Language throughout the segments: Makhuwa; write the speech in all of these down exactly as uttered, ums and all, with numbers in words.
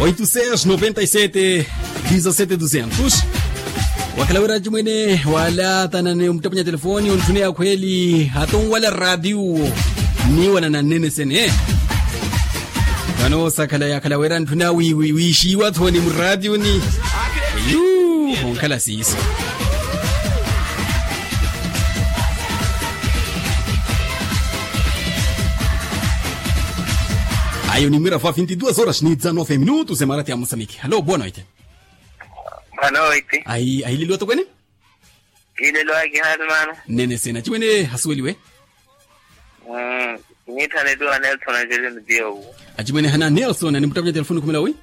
Oito seis noventa e sete dezessete duzentos. Wakhala wira acimwene wala thanane omuttapunya telefoni ontthune akhweli hatonwala ratiyo. Niiwanana nnene sene. Vano sakhala yakhala wira ntthuna wiixiiwa thoni muratiyo ni. Yu onkhala siiso. Ayo nimwira fwa vinti duas horas ni dezanove minutos emarati ya mosamiki halo boa noite. Boa noite. Ahileliwa tokwene. Hileliwa kihaati mano. Nnene sena acimwene hasuweliwe. Niithaneliwa nelson angelino dioku. Acimwene hana nelson animuttapunya telefoni khumela wi?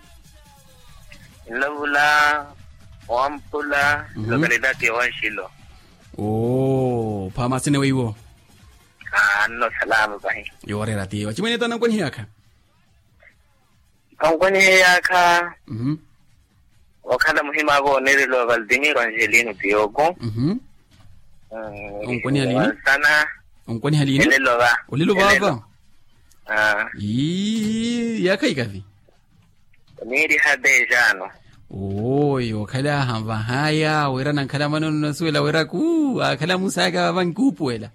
Nlavula wampula lokalidati ya wanxilo. Oo phaama asene weiwo. Anno salama pahi. Yooreera tiyo acimwene etaana ankwanihiyaakha. Ankwanihiyaakha. Okhala muhim'aka oneereliwa valtimiro angelino tiyoku. Onkwaniha liini? Wansana. Onkwaniha liini? Elelo va. Elelo va. Ii yaakha ikavi. Oniiriha dejano. Oyo okhala ahanvahaya wira nankhala mano nnasuwela wira kuu akhala musayaka vava nkuupuwela.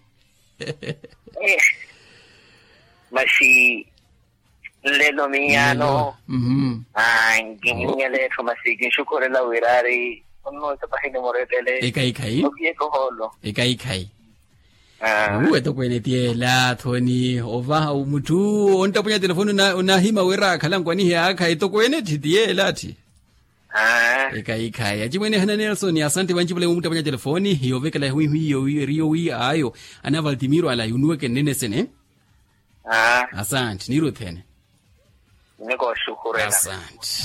Masi nlelo miyaano. Nkihinyela etthu masi kinxukhurela wira ari onnuwesa pahini murettele. Ekhaikhayi. Okiyekohoolo. Ekhaikhayi. Uwe tokweene tiyela thoni ovaha mutthu onttapunya telefoni onahima wira akhala nkwanihiyaakha etokweene tthi tiyela tthi. Ekhaikhayi acimwene hana nelson asanti vancipula imuttapunya telefoni yoovekela hwiihwi iyo eri yowi ayo. Ana valtimiro ala yunuweke nnene sene. Asanti niiruthene. Nnikooxukhurela. Asanti.